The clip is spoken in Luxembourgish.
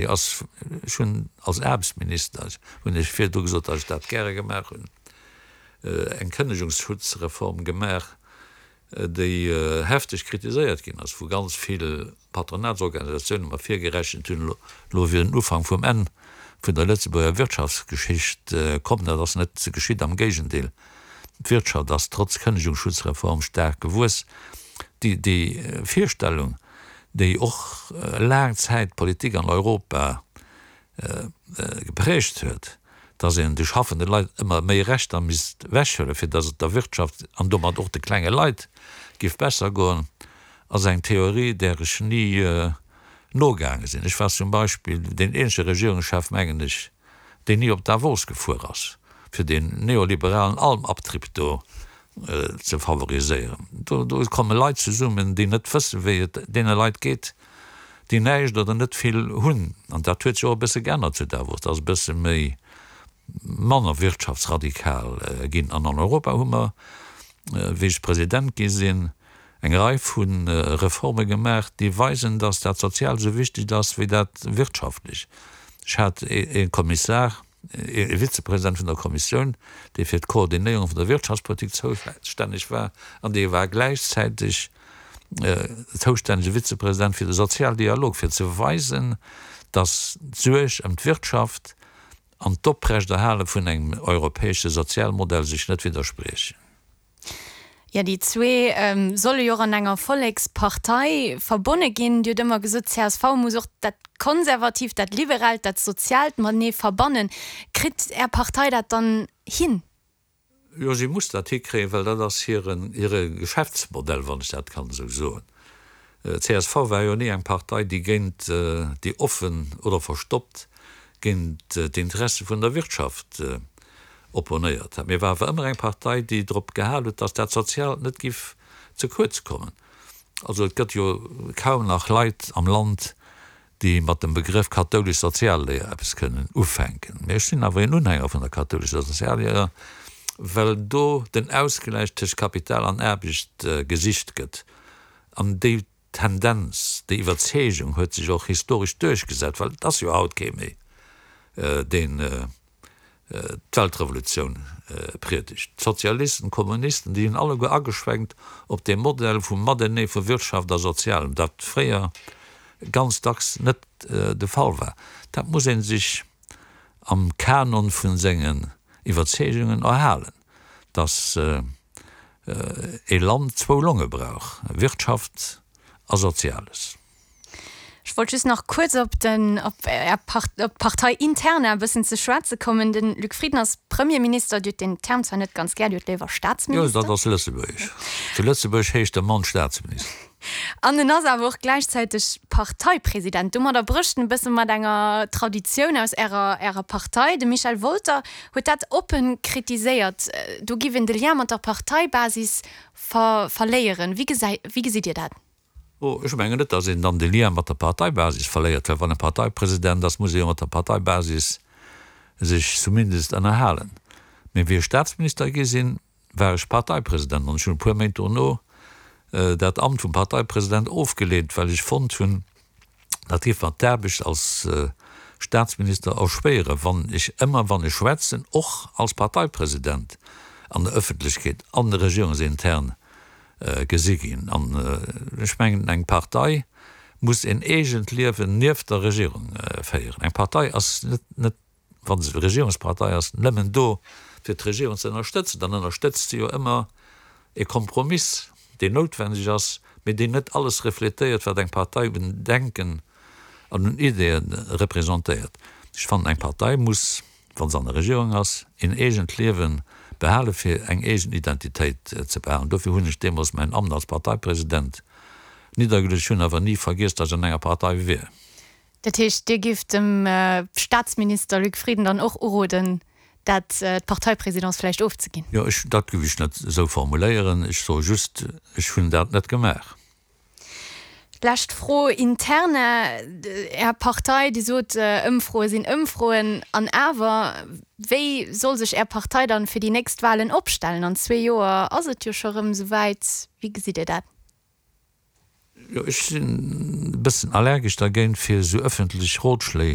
Ass, ech hunn als Aarbechtsminister, hunn ech virdru gesot, datt ech dat gäre gemaach hunn, eng Kënnegungsschutzreform gemaach, déi hefteg kritiséiert ginn ass vu ganz vill Patronatsorganisatiounen, mer virgerechent hunn, elo wier den Ufank vum Enn vun der Lëtzebuerger Wirtschaftsgeschicht komm. Dat ass net geschitt, am Géigendeel, d'Wirtschaft ass trotz Kënnegungsschutzreform staark gewuess. Déi Virstellung, déi och laang Zäit d'Politik an Europa geprägt huet, dass een de schaffende Leit ëmmer méi Rechter misst wechhuelen, fir dass et der Wirtschaft an domat och de klenge Leit giff besser goen, ass eng Theorie, där ech ni nogaange sinn. Ech war zum Beispill deen eenzege Regierungschef, mengen ech, deen ni op Davos gefuer ass, fir deen neoliberalen Almabtrieb do ze favoriséieren. Do komme Leit zesummen, déi net wëssen, wéi et deene Leit geet, déi näischt oder net vill hunn. An dat huet sech och e bësse geännert zu Davos, dat ass e bësse méi manner wirtschaftsradikal ginn. An an Europa hu mer, wéi ech President gi sinn, eng Rei vu Reforme gemaach, déi weisen, datt dat Soziaalt esou wichteg ass wéi dat Wirtschaftlech. Ech hat ee Kommissar, ee Vizepresident vun der Kommissioun, dee fir d'Koordinéierung vun der Wirtschaftspolitik zoustänneg war an dee war gläichzäiteg zoustännege Vizepresident fir de Sozialdialog, fir ze weisen, datt d'Suerg ëm d'Wirtschaft an d'Oprechterhale vun engem europäesche Sozialmodell sech net widderspriechen. Jo, déi zwee solle jo och an enger Vollekspartei verbonne ginn. Dir hutt ëmmer gesot, csv muss och dat Konservatiivt, dat Liberaalt, dat Soziaalt matenee verbannen. Kritt Är Partei dat dann hin? Jo, si muss dat hikréien, well dat ass hiren, hire Geschäftsmodell, wann ech dat kann esou soen. Csv war jo ni eng Partei, déi géint, déi offen oder verstoppt géint d'Interesse vun der Wirtschaft opponéiert hat, mee war awer ëmmer eng Partei, déi drop gehal huet, datt dat Soziaalt net giff ze kuerz kommen. Also et gëtt jo kaum nach Leit am Land, déi mat dem Begrëff kathoulesch Sozialléier eppes kënnen ufänken. Mee ech sinn awer een Unhänger vun der kathoulescher Sozialléier, well do den Ausgläich tëscht Kapital an Aarbecht gesicht gëtt an déi Tendenz, déi Iwwerzeegung huet sech och historesch duerchgesat, well et ass jo haut kee méi, deen d'Weltrevolutioun priedegt. D'Sozialisten, d'Kommunisten, déi hunn alleguer ageschwenkt op dee Modell vum Matenee vu Wirtschaft a Sozialem, dat fréier ganz dacks net de Fall war. Dat muss ee sech am Kanon vu sengen Iwwerzeegungen erhalen, datt ee Land zwou Longe brauch, Wirtschaft a Soziales. Ech wollt just nach kuerz op den, op Är Part, op d'Partei interna e bëssen ze schwätze kommen. De Luc Frieden ass Premierminister. Dir hutt deen Term zwar net ganz gär, Dir hutt léiwer Staatsminister. Jo, dat ass Lëtzebuergesch. Zu Lëtzebuerg heescht de Mann Staatsminister. An en ass awer och gläichzäiteg Parteipresident. Domadder brécht en e bësse mat enger Traditioun aus Ärer, Ärer Partei. De Michel Wolter huet dat oppe kritiséiert. Do giff een de Lien mat der Parteibasis ver, verléieren. Wéi gesäi, wéi gesitt Dir dat? Oh, ech mengen net, datt een dann de Lien mat der Parteibasis verléiert, well wann e Parteipresident ass, muss e jo mat der Parteibasis sech zumindest ënnerhalen. Mee wéi ech Staatsminister gi sinn, war ech Parteipresident an ech hunn e puer Méint dono dat Amt vum Parteipresident ofgeleent, well ech fonnt hunn, dat géif mer d'Aarbecht als Staatsminister erschwéieren, wann ech ëmmer, wann ech schwätzen, och als Parteipresident an der Ëffentlechkeet an regierungsintern gesi ginn. An ech mengen, eng Partei muss en eegent Liewen nieft der Regierung féieren. Eng Partei ass net, wa se Regierungspartei ass, nëmmen do, fir d'Regierung ze ënnerstëtzen. Dann ënnerstëtzt se jo ëmmer e Kompromiss, deen noutwendeg ass, mee deen net alles refletéiert, wat eng Partei un Denken an un Ideeë representéiert. Ech fannen, eng Partei muss wa se an der Regierung ass, een eegent Liewe behale fir eng eegen Identitéit ze behalen. Dofir hunn ech deemools mäin Amt als Parteipresident niddergeluecht. Ech hunn awer ni vergiess, datt ech an enger Partei wier. Dat heescht, Dir gifft dem Staatsminister Luc Frieden dann och uroden, dat d'Parteiprésidence vläicht ofzeginn? Jo, ech, dat giff ech net esou formuléieren. Ech soe just, ech hunn dat net gemaach. Lescht Fro interne, Är Partei, Dir sot, Ëmfroe sinn Ëmfroen, an awer, wéi soll sech Är Partei dann fir déi nächst Wahlen opstellen? An zwee Joer ass et jo scho rëm esou wäit. Wéi gesitt Dir dat? Jo, ech sinn e bëssen allergesch dergéint, fir esou ëffentlech Rotschléi.